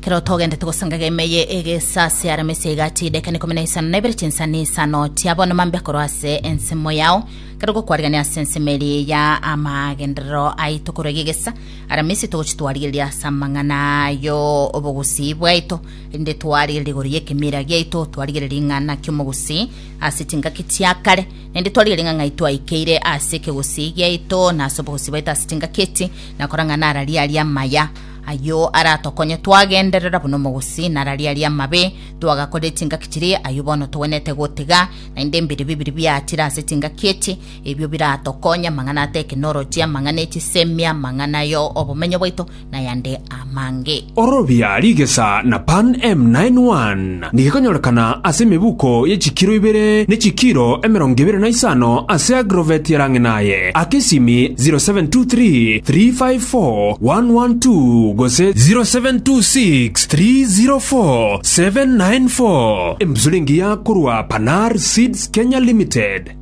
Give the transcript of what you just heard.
Kero togendete gosangaga emeye egesase aramese egati dakika ikomi na isano na ibere chinsani isano chia bono mambia korwa ase ensemo yao kero gokwarigania ase ensemo eri ya amagenderero aito korwa egegesa aramisi togochi twarigereria ase amang'ana yo obogusii bwaito rinde twarigereria igoro y'ekemira giaito twarigereria ng'a naki omogusii ase chingaki chia kare naende twarigereria ng'a ng'ai twaikeire ase ekegusii giaito na ase obogusii bwaito ase chingaki echi nakora ng'a nararia aria amaya Ayio aratokonye twagenderera buna omogusii, nararia aria amabe twagakorire chingaki chiria, ayio bono togwenerete gotiga, naende mbiribi biria biachire ase chingaki echi, ebio biratokonye amang'ana a tekinoloji, amang'ana e chisemi, amang'ana yo obomenyo bwaito, nayande amange. Orobia rigesa na Pan M91 nigo ekonyorekana ase emebuko ye chikiro ibere ne chikiro 25 ase Agrovet yarang'ina aye. Aka esimi 0723 354 112 gose 0726 304 794. Embusuro engiya korwa Panar Seeds Kenya Limited.